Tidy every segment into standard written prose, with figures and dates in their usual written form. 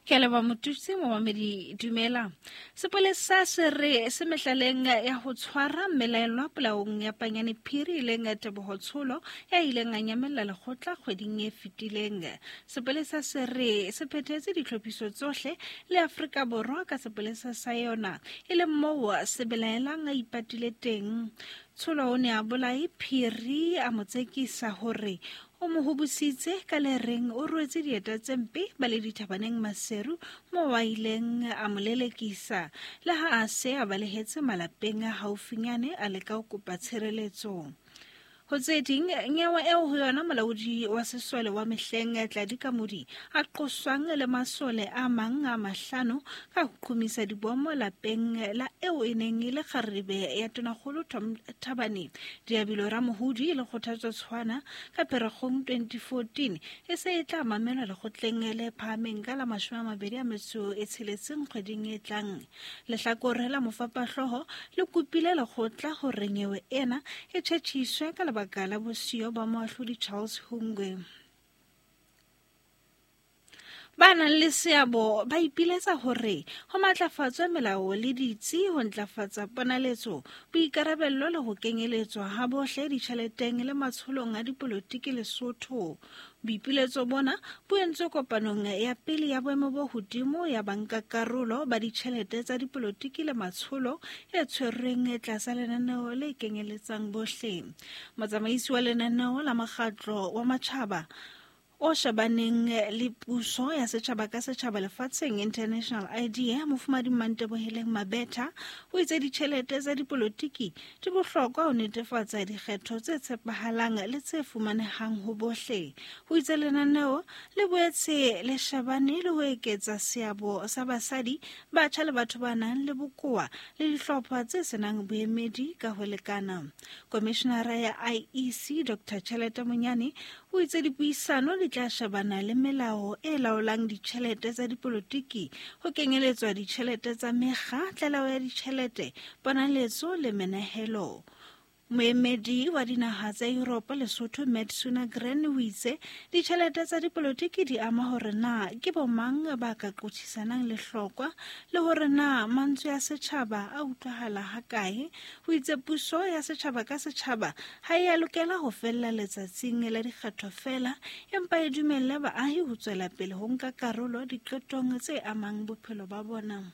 Ke a leboha Motutsi momamedi dumela. Sepolesa se re se mehlaleng ya ho tshwara mmelaelwa polaong ya Panyane Phiri e leng Teboho Tsholo ya ileng a nyamella lekgotla kgweding e fetileng. Sepolesa se re se phethetse ditlhophiso tsohle le Afrika Borwa ka sepolesa sa yona e leng moo se belaelang a ipatile teng. Tsholo o ne a bolae Phiri a mo tsekisa hore O mo hobositse ka le reng o rwetse dieta tse mpe ba le dithabaneng Maseru moo a ileng a mo lelekisa le ha a se a balehetse malapeng a haufinyane a leka ho kopa tshireletso. Ho tse ding, nyewe eo ho yona molaodi wa sesole wa mehleng Tladi Kamodi a qoswang le masole a mang a mahlano ka ho qhomisa dibomo lapeng la eo e neng e le kgarebe ya tonakgolo Tom Thabane Diabilo Ramohudi le Kgothatso Tshwana ka Pherekgong 2014 e se e tla mamelwa lekgotleng le phahameng ka la 26 kgweding e tlang. Lehlakore la mofapahloho le kopile lekgotla hore nyewe ena e tjhetjhiswe ka lebaka la bosiyo ba moahlodi Charles Hungwe. Ba nang le seabo ba ipiletsa hore ho matlafatswe melao le ditsi ho ntlafatsa ponaletso, boikarabello le ho kenyeletswa ha bohle ditjheleteng le matsholong a dipolotiki Lesotho. Boipiletso bona bo entswe kopanong ya pele ya boemo bo hodimo ya bankakarolo ba ditjhelete tsa dipolotiki le matsholo e tshwerweng tlasa lenaneo le kenyeletsang bohle. Motsamaisi wa lenaneo la mokgatlo wa matjhaba o shebaneng le puso ya setjhaba ka setjhaba lefatsheng International Idea Mofumadi Manteboheleng Mabetha o itse ditjhelete tsa dipolotiki di bohlokwa ho netefatsa dikgetho tse tshepahalang le tse fumanehang ho bohle. O itse lenaneo le boetse le shebane le ho eketsa seabo sa basadi, batjha le batho ba nang le bokowa le dihlopha tse senang boemedi ka ho lekana. Komishenara ya IEC Dr Chelete Monyane O itse dipuisano di tla shebana le melao e laolang ditjhelete tsa dipolotiki, ho kenyeletswa ditjhelete tsa mekga, tlaleho ya ditjhelete, ponaletso le menehelo. Moemedi wa dinaha tsa Yuropa Lesotho Matt Sunagren o itse ditjhelete tsa dipolotiki di ama hore na ke bomang ba ka qothisanang lehlokwa le hore na mantswe a setjhaba a utlwahala hakae. O itse puso ya setjhaba ka setjhaba ha e a lokela ho fella letsatsing la dikgetho feela, empa e dumelle baahi ho tswela pele ho nka karolo diqetong tse amang bophelo ba bona.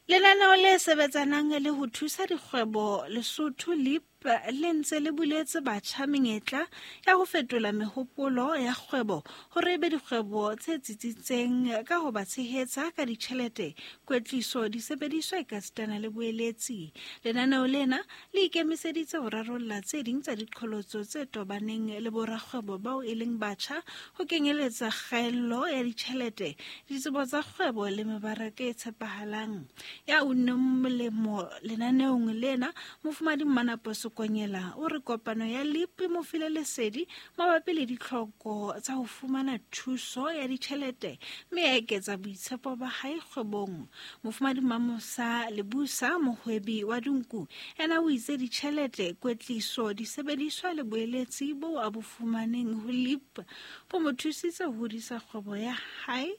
Lenaneo le sebetsanang le ho thusa dikgwebo Lesotho LEAP le ntse le buletse batjha menyetla ya ho fetola mehopolo ya kgwebo hore e be dikgwebo tse tsitsitseng ka ho ba tshehetsa ka ditjhelete, kwetliso, disebediswa ekasitana le boeletsi. Lenaneo lena le ikemiseditse ho rarolla tse ding tsa diqholotso tse tobaneng le borakgwebo bao e leng batjha, ho kenyeletsa kgaello ya ditjhelete, ditsebo tsa kgwebo le mebaraka e tshepahalang. Ya unneng molemo lenaneong lena, Mofumadi Mmanapo Sekonyela o re kopano ya LEAP e mo file lesedi mabapi le ditlhoko tsa ho fumana thuso ya ditjhelete mme ya eketsa boitshepo ba hae kgwebong. Mofumadi Mamosa Lebusa, mohwebi wa dinku, ena o itse ditjhelete, kwetliso, disebediswa le boeletsi boo a bo fumaneng ho LEAP bo mo thusitse ho hodisa kgwebo ya hae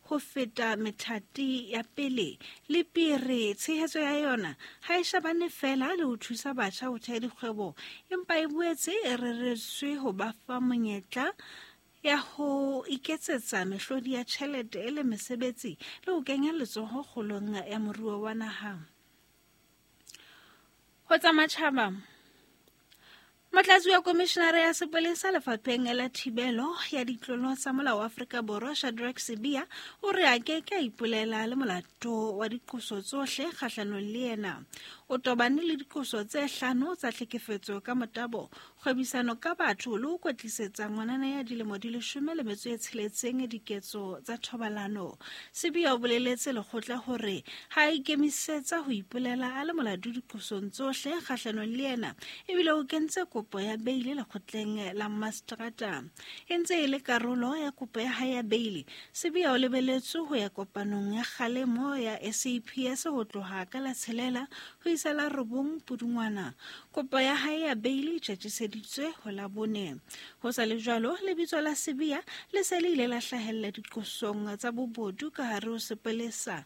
ho feta methati ya pele. Le pere tshehetso ya yona ha e shebane feela le ho thusa batjha ho theha dikgwebo, empa e boetse e reretswe ho ba fa monyetla ya ho iketsetsa mehlodi ya tjhelete le mesebetsi le ho kenya letsoho kgolong ya moruo wa naha. Ho tsa matjhaba, Motlatsi wa komishinara ya sepolesa lefapheng la thibelo ya ditlolo tsa molao wa Afrika Borwa Shadrack Sibiya o re a ke ke a ipolela le molato wa diqoso tsohle kgahlanong le yena. O tobane le diqoso tse hlano tsa tlhekefetso ka motabo, kgwebisano ka batho le ho kwetlisetsa ngwanana ya dilemo di 16 diketso tsa thobalano. Sibiya o boleletse lekgotla hore ha a ikemisetsa ho ipolela a le molato diqosong tsohle kgahlanong le yena ebile o kentse kopo ya beile lekgotleng la mastrata. E ntse e le karolo ya kopo ya hae ya beile, Sibiya o lebeletswe ho ya kopanong ya kgalemo ya SAPS ho tloha ka la tshelela ho tlisa la 9 Pudungwana. Kopo ya hae ya beili e tjhetjhiseditswe ho la 4. Ho sa le jwalo, lebitso la Sibiya le se le ile la hlahella diqosong tsa bobodu ka hare ho sepolesa,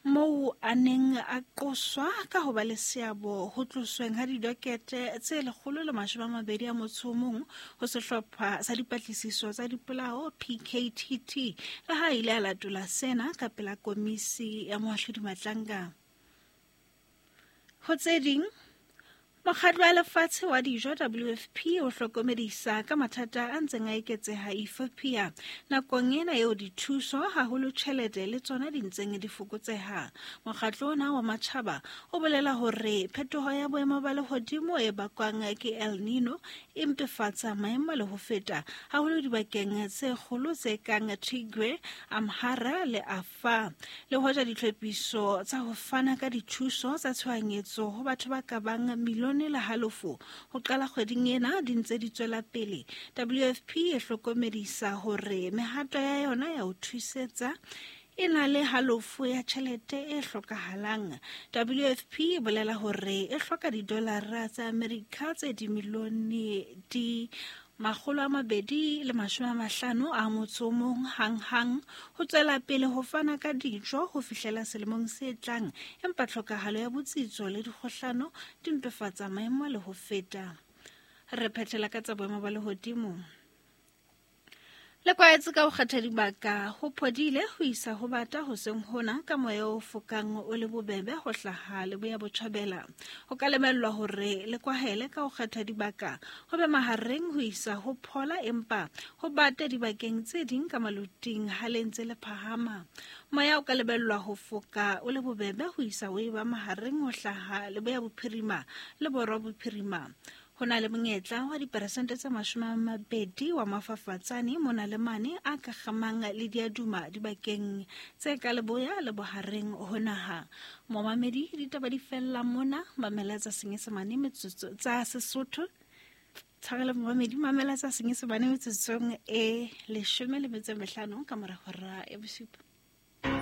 moo a neng a qoswa ka ho ba le seabo ho tlosweng ha didokete tse 121 ho sehlopha sa dipatlisiso tsa dipolao PKTT, le ha ile a latola sena ka pela komisi ya moahlodi Matlanga. Ho tse ding, Mokgatlo wa Lefatshe wa Dijo WFP o hlokomedisa ka mathata a ntseng a eketseha Ethiopia nakong ena eo dithuso haholo tjhelete le tsona di ntseng di fokotseha. Mokgatlo ona wa matjhaba o bolela hore phetoho ya boemo ba lehodimo e bakwang ke El Nino e mpefatsa maemo le ho feta, haholo dibakeng tse kgolo tse kang Tigray, Amhara le Afar. Le hoja ditlhophiso tsa ho fana ka dithuso tsa tshohanyetso ho batho ba ka bang milione le halofo ho qala kgweding ena di ntse di tswela pele, WFP e hlokomedisa hore mehato ya yona ya ho thusetsa e na le halofo ya tjhelete e hlokahalang. WFP e bolela hore e hloka didolara tsa Amerika tse dimilione di 251 hang-hang ho tswela pele ho fana ka dijo ho fihlela selemong se tlang, empa tlhokahalo ya botsitso le dikgohlano di mpefatsa maemo le ho feta. Re phethela ka tsa boemo ba lehodimo. Le kwaetse ka ho kgetha dibaka ho phodile ho isa ho bata hoseng hona ka moya o fokang o le bobebe ho hlaha leboya botjhabela. Ho ka lebellwa hore le kwahele ka ho kgetha dibaka ho be mahareng ho isa ho phola, empa ho bate dibakeng tse ding ka maluting ha le ntse le phahama. Moya o ka lebellwa ho foka o le bobebe ho isa ho eba mahareng ho hlaha leboya bophirima le borwa bophirima. Ho na le monyetla wa diperesente tse 20 wa mafafatsane mona le mane a ka kgamang le diaduma dibakeng tse ka leboya le bohareng ho naha. Momamedi, ditaba di fella mona, mamela tsa Senyesemane metsotso tsa Sesotho. Tshwarelo momamedi, mamela tsa Senyesemane metsotsong e 15 ka mora hora ya 7.